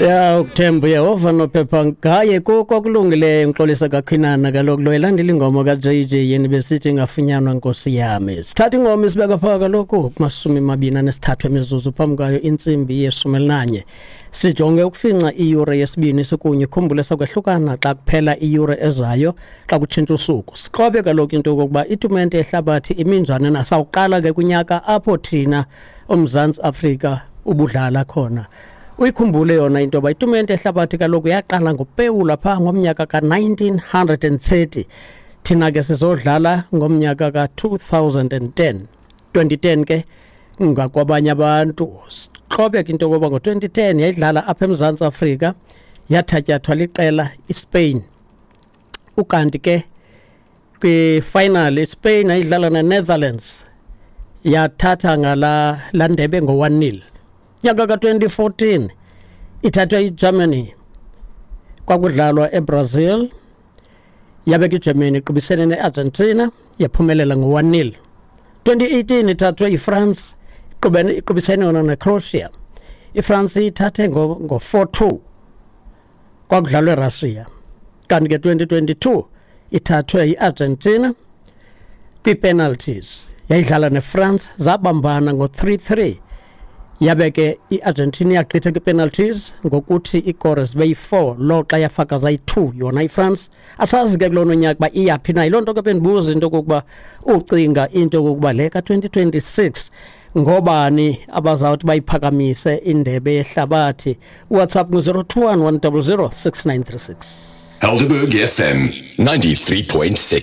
Ya, ukuthemba uYehova nophepha ngaye kuko okulungileyo. Ngixolisa kakhwinana kaloku lo elandela ingoma ka-JJ yeni besithi ingafunyanwa nkosi yami. Sithatha ingoma isibeka phaa kaloku kumashumi mabini anesithathu emizuzu phambi kwayo intsimbi yeshumi elinanye. Sijonge ukufinca iyure yesibini sikunye. Khumbule sokwehlukana xa kuphela iyure ezayo xa kutshintsha usuku. Sikrobe kaloku into yokokuba itumente yehlabathi iminjani na. Sawuqala ke kunyaka apho thina uMzantsi Afrika ubudlala khona. Uyikhumbule yona into yoba itumente yehlabathi kaloku yaqala ngopewula phaa ngomnyaka ka-1930. Thina ke sizodlala ngomnyaka ka-2010. 2010 ke ngakwabanye abantu. Sixhobe ke into yokoba ngo-2010 yayidlala apha eMzantsi Afrika, yathatyathwa liqela iSpain. Ukanti ke kwi-final iSpain ayidlala neNetherlands, yathatha ngala laa ndebe ngo-1-0. Nyaka ka-2014 ithathwe iGermany, kwakudlalwa eBrazil, yabe ke iGermany iqubisene neArgentina, yaphumelela ngo-1-0. 2018 ithathwe iFrance, iqubisene yona neCroatia, iFrance ithathe ngo-4-2, kwakudlalwa eRussia. Kanti ke 2022 ithathwe iArgentina kwii-penalties, yayidlala neFrance, zabambana ngo-3-3, yabe ke iArgentina yagqitha kwi-penalties ngokuthi iikore zibe yi-4 lo xa yafaka zayi-2 yona iFrance. Asazi ke kulona nyaka uba iyaphi na. Yiloo nto ke bendibuza into yokokuba ucinga into yokokuba le ka-2026 ngobani abazawuthi bayiphakamise indebe yehlabathi. WhatsApp ngu-021 100 6936. Helderberg FM 93.6.